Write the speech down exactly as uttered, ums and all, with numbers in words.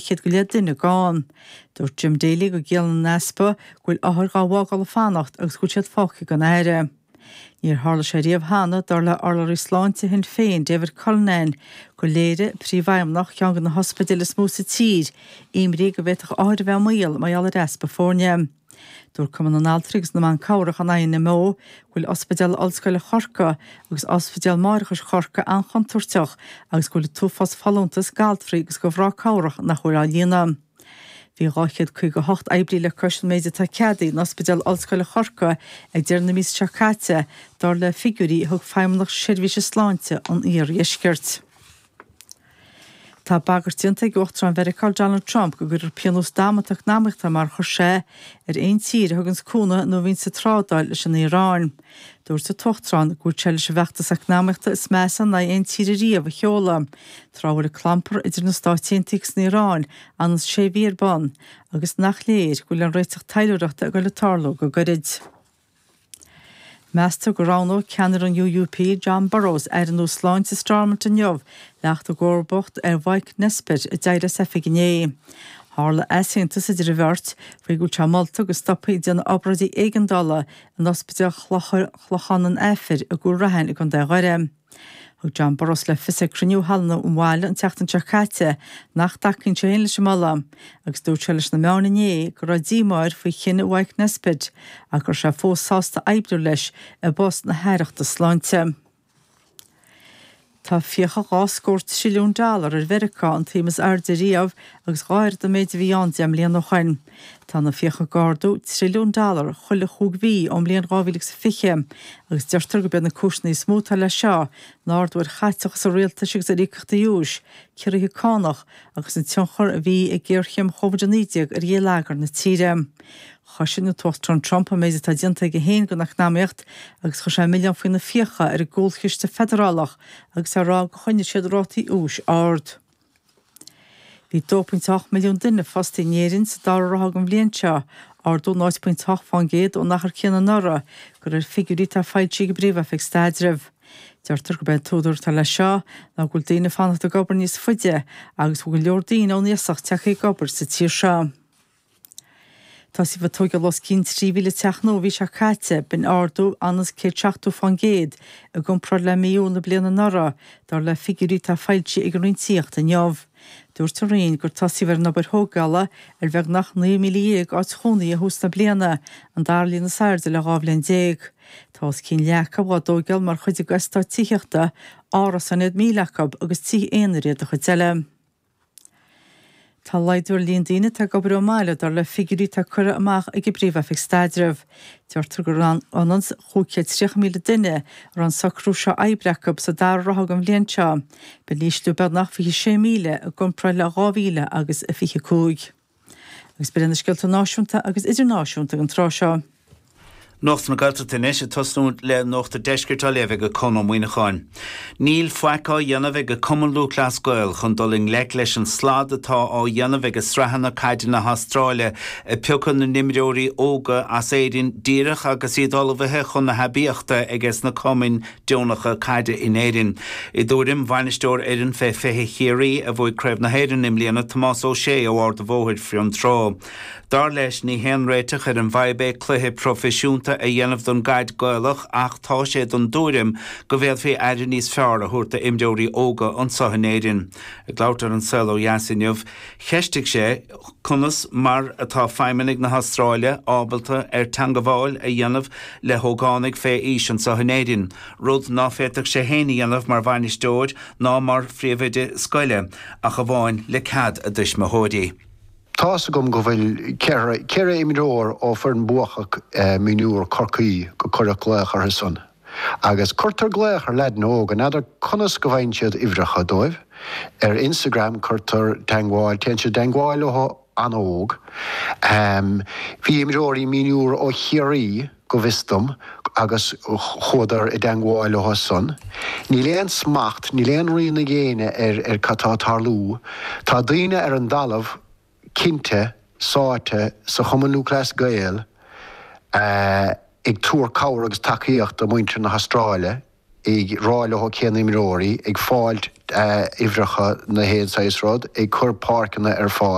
chéad go leith duine gann. Dúirt Jim Daly go gciallaíonn an easpa go bhfuil othair dhá bhfágáil ag fanacht agus go bhfuil siad fágtha gan aire. Níor tharla sé riamh cheana dar le urlabhraí sláinte Shinn Féin David Cullinane gur léirigh príomhfheidhmeannach ceann de na hospidéil is mó sa tír, imní go bhféadfadh othair a bheith i mbaol mar gheall ar easpa foirne. Dúirt Cumann na nAltraí agus na mBan Cabhrach an INMO go bhfuil Ospidéal Ollscoile Chorcaí agus Ospidéal Máithreachais Chorcaí an-chontúirteach agus go bhfuil an t-uafás folúntas d'altraí agus do mhná cabhrach nach bhfuil á líonadh. Bhí dhá chéad caoga hocht oibrí le cois an méid atá ceadaithe in Ospidéal Ollscoile Chorcaí ag deireadh na míosa seo caite, dar le figiúirí a thug Feidhmeannacht Seirbhíse Sláinte an Iardheiscirt. Tá bagairt déanta ag Uachtarán Mheiriceá Donald Trump go gcuirfear pionós damanta eacnamaíochta mar chuir sé ar aon tír a thugann cúnamh nó a bhíonn sa trádáil leis an Iaráin. Dúirt an tUachtarán go bhfuil sé leis an bhfeachtas eacnamaíochta is measa in aghaidh aon tír riamh a sheoladh. Tráth a bhfuil an clampar idir na Stáit Aontaithe agus an Iaráin ionann sé mhí ar bun, agus nach léir go bhfuil an réiteach taidhleoireachta ag dul ag tarlú go gairid. Meastar go roghnóidh ceannaire an UUP Jon Burrows aire nua sláinte Stormont inniu le theacht i gcomharbacht ar Mhike Nesbitt a d'éirigh as oifig inné. Tharla easaontas idir an bheirt faoi go bhfuil sé molta go stopfaí déanamh obráidí éigeandála in ospidéal Chlochán an Aifir i gCúil Raithin i gContae Dhoire. Thug Jon Burrows le fios ag cruinniú halla an bhaile an tseachtain seo caite nach dtacaíonn sé féin leis an moladh, agus dúirt sé leis na meáin inné go raibh díomá air faoi chinneadh Mhike Nesbitt ach go raibh sé fós sásta oibriú leis i bpost na haireachta sláinte. Tá fiacha dhá scór trilliún dollar ar Mheiriceá an tsuim is airde riamh agus dhá oiread an méid a bhí ann deich mbliana ó shin. Tá na fiacha ag ardú trilliún dollar chuile chúig mhí ón mbliain dhá mhíle agus fiche agus deirtear gurb iad na cúiseanna is mó atá leis seo ná ardú ar chaiteachas an rialtais agus ar íocaíochtaí úis, ciorruithe cánach agus an tionchar a bhí ag géarchéim Covid a naoi déag ar gheilleagar na tíre. Chosain an tUachtarán Trump an méid atá déanta aige féin don eacnamaíocht agus chuir sé milleán faoi na fiacha ar an gcúlchiste feidearálach agus á rá gur choinnigh siad rátaí úis ard. Bhí dó pointe ocht milliún duine fostaithe in Éirinn sa dara ráithe den bhliain seo, ardú náid pointe ocht faoin gcéad ón achar céanna anuraidh, de réir figiúirí atá foilsithe ag an bPríomh-Oifig Staidrimh. Deirtear gurb é an t-údar atá leis seo ná go bhfuil daoine ag fanacht ag obair níos faide agus go bhfuil go leor daoine ón iasacht tagtha ag obair sa tír seo. Tosaíodh ag tógáil os cionn trí mhíle teach nua an mhí seo caite, b'in ardú ionann céad seachtó faoin gcéad i gcomparáid le mí Iúil na bliana anuraidh, dar le figiúirí atá foilsithe ag an Roinn Tithíochta inniu. Dúirt an Roinn gur tosaíodh ar an obair thógála ar bheagnach naoi míle dhéag áit chónaithe ó thús na bliana, an dara líon is airde le dhá bhliain déag. Tá os cionn leath acu á dtógáil mar chuid d'eastát tithíochta, árasáin iad míle acu agus tithe aonair iad an chuid eile. Tá laghdú ar líon daoine atá ag obair ón mbaile dar le figiúirí atá curtha amach ag an bPríomh-Oifig Staidrimh. Deirtear gur ionann chúig chéad tríocha míle duine a raibh an socrú seo oibre acu sa dara ráithe den bhliain seo, b'in ísliú beagnach fiche sé míle i gcomparáid le dhá mhíle agus a fiche cúig. Agus b'in na scéalta náisiúnta agus idirnáisiúnta an tráth seo. Nuacht na Gaeltachta anois ag tosnú le Nuacht an Deiscirt á léamh ag Conn Ó Muíneacháin. Níl faic á dhéanamh ag Cumann Lúthchleas Gael chun dul i ngleic leis an slad atá á dhéanamh ag sraitheanna caide na hAstráile ag piocadh na n-imreoirí óga as Éirinn díreach agus iad ullmhaithe chun na haibíochta aige sna cumainn deonacha caide in Éirinn. I dtuairim bhainisteoir fhoireann fé fiche Chiarraí a bhuaigh Craobh na hÉireann i mbliana Tomás Ó Sé ó Ard an Bhóthair Fionntrá. Dar leis ní haon réiteach ar an bhfadhb é cluiche proifisiúnta a dhéanamh don gcaid Gaelach ach tá sé den tuairim go bhféadfaí aire níos fearr a thabhairt d'imreoirí óga anseo in Éirinn. Ag labhairt ar An Saol Ó Dheas inniu, cheistigh sé conas mar atá feidhmeannaigh na hAstráile ábalta ar teagmháil a dhéanamh le hógánaigh fé aois anseo in Éirinn, rud ná féadfadh sé féin a dhéanamh mar bhainisteoir ná mar phríomhoide scoile ach amháin le cead a dtuismitheoirí. Tá's agam go bhfuil ceithre ceithre imreoir ó foireann buacach mionúr Chorcaí go cuireadh glaoch orthu san. Agus cuirtear glaoch ar leaideanna óga, n'fheadar conas go bhfaigheann siad uimhreacha dóibh. Ar Instagram cuirtear teagmháil, téann siad i dteagmháil leo an-óg. Bhí imreoirí mionúr ó Chiarraí, go bhfios dom, agus chuadar i dteagmháil leo san. Níl aon smacht, níl aon rian ag éinne ar ar cad tá ag tarlú. Tá daoine ar an dtalamh cinnte sáite sa Chumann Lúthchleas Gael ag tabhairt cabhair agus tacaíocht do mhuintir na hAstráile, ag rá leo cén imreoirí, ag fáilt uimhreacha na haon saghas rud, ag cur páirceanna ar fáil.